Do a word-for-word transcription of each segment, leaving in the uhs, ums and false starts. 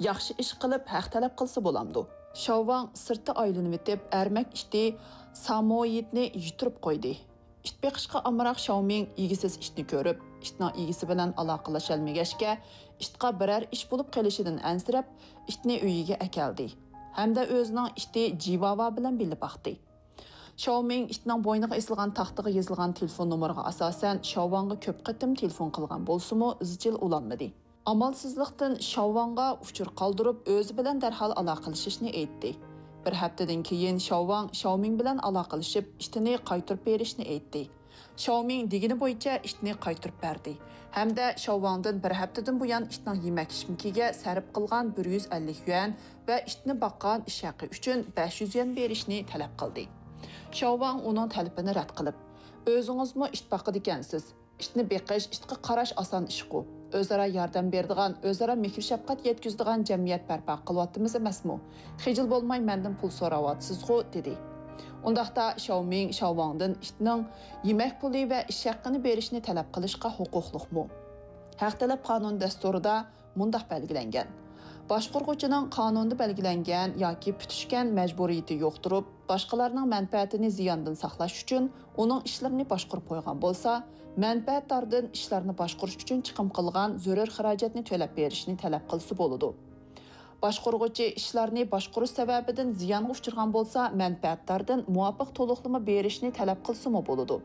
ياخشى ئىش قىلىپ ھەق تەلەپ قىلسا بولامدۇ؟ شاۋۋاڭ سىرتتا ئايلىنىۋېتىپ، ئەرمەك ئىتى سامويىدنى يۈتتۈرۈپ قويدى. ئىت بېقىشقا ئامراق شاۋمىڭ ئىگىسىز ئىتنى كۆرۈپ، ئىتنىڭ ئىگىسى بىلەن ئالاقىلىشالمىغاچكە، ئىتقا بىرەر ئىش بولۇپ قېلىشىدىن ئەنسىرەپ، ئىتنى ئۆيىگە ئەكەلدى ھەمدە ئۆزىنىڭ ئىتى جىۋاۋا بىلەن بىللە باقتى. شاۋمىڭ ئىتنىڭ بوينىغا ئېسىلغان تاختىغا يېزىلغان تېلېفون نومۇرىغا ئاساسەن، شاۋۋاڭغا كۆپ قېتىم تېلېفون قىلغان بولسىمۇ، ئىزچىل ئۇلانمىدى. ئامالسىزلىقتىن شاۋۋاڭغا ئۇچۇر قالدۇرۇپ، ئۆزى بىلەن دەرھال ئالاقىلىشىشنى ئېيتتى. بىر ھەپتىدىن كېيىن شاۋۋاڭ شاۋمىڭ بىلەن ئالاقىلىشىپ، ئىتىنى قايتۇرۇپ بېرىشنى ئېيتتى. شاۋمىڭ دېگىنى بويىچە ئىتنى قايتۇرۇپ بەردى ھەمدە شاۋۋاڭدىن بىر ھەپتىدىن بۇيان ئىتنىڭ يېمەك-ئىچمىكىگە سەرپ قىلغان بىر يۈز ئەللىك يۈەن ۋە ئىتنى باققان ئىش ھەققى ئۈچۈن بەش يۈز يۈەن بېرىشنى تەلەپ قىلدى. شاۋۋاڭ ئۇنىڭ تەلىپىنى رەت قىلىپ، ئۆزىڭىزمۇ ئىت باقىدىكەنسىز. ئىتنى بېقىش، ئىتقا قاراش ئاسان ئىشقۇ. ئۆزئارا ياردەم بېرىدىغان، ئۆزئارا مېھىر-شەپقەت يەتكۈزىدىغان جەمئىيەت بەرپا قىلىۋاتىمىز ئەمەسمۇ؟ خىجىل بولماي مەندىن پۇل سوراۋاتىسىزغۇ؟ دېدى. ئۇنداقتا شاۋمىڭ شاۋۋاڭدىن ئىتنىڭ يېمەك پۇلى ۋە ئىش ھەققىنى بېرىشنى تەلەپ قىلىشقا ھوقۇقلۇقمۇ؟ ھەق تەلەپ قانۇن دەستۇرىدا مۇنداق بەلگىلەنگەن: باشقۇرغۇچىنىڭ قانۇندا بەلگىلەنگەن ياكى پۈتۈشكەن مەجبۇرىيىتى يوق تۇرۇپ، باشقىلارنىڭ مەنپەئەتىنى زىياندىن ساقلاش ئۈچۈن ئۇنىڭ ئىشلىرىنى باشقۇرۇپ قويغان بولسا، مەنپەئەتداردىن ئىشلارنى باشقۇرۇش ئۈچۈن چىقىم قىلغان زۆرۈر خىراجەتنى تۆلەپ بېرىشنى تەلەپ قىلسا بولىدۇ. باشقۇرغۇچى ئىشلارنى باشقۇرۇش سەۋەبىدىن زىيانغا ئۇچرىغان بولسا، مەنپەئەتداردىن مۇۋاپىق تولۇقلىما بېرىشنى تەلەپ قىلسىمۇ بولىدۇ.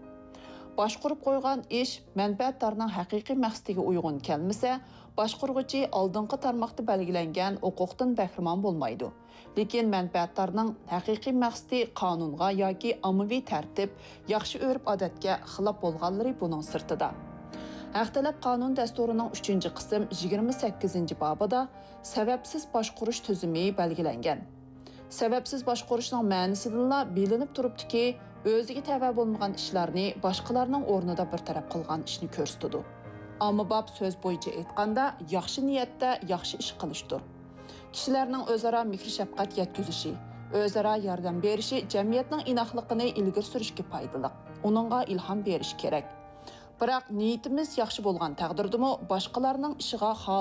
باشقۇرۇپ قويغان ئىش مەنپەئەتدارنىڭ ھەقىقىي مەقسىتىگە ئۇيغۇن كەلمىسە، باشقۇرغۇچى ئالدىنقى تارماقتا بەلگىلەنگەن ھوقۇقتىن بەھرىمەن بولمايدۇ. لېكىن مەنپەئەتدارنىڭ ھەقىقىي مەقسىتى قانۇنغا ياكى ئاممىۋى تەرتىپ، ياخشى ئۆرپ-ئادەتكە خىلاپ بولغانلىرى بۇنىڭ سىرتىدا. ھەق تەلەپ قانۇن دەستۇرىنىڭ ئۈچىنچى قىسىم يىگىرمە سەككىزىنچى بابىدا سەۋەبسىز باشقۇرۇش تۈزۈمى بەلگىلەنگەن. سەۋەبسىز باشقۇرۇشنىڭ مەنىسىدىنلا بىلىنىپ تۇرۇپتۇكى، ئۆزىگە تەۋە بولمىغان ئىشلارنى باشقىلارنىڭ ئورنىدا بىر تەرەپ قىلغان ئىشنى كۆرسىتىدۇ. ئاممىباب سۆز بويىچە ئېيتقاندا، ياخشى نىيەتتە ياخشى ئىش قىلىشتۇر. كىشىلەرنىڭ ئۆزئارا مېھىر-شەپقەت يەتكۈزۈشى، ئۆزئارا ياردەم بېرىشى جەمئىيەتنىڭ ئىناقلىقىنى ئىلگىرى سۈرۈشكە پايدىلىق، ئۇنىڭغا ئىلھام بېرىشى كېرەك. بىراق، نىيىتىمىز ياخشى بولغان تەقدىردىمۇ، باشقىلارنىڭ ئىشىغا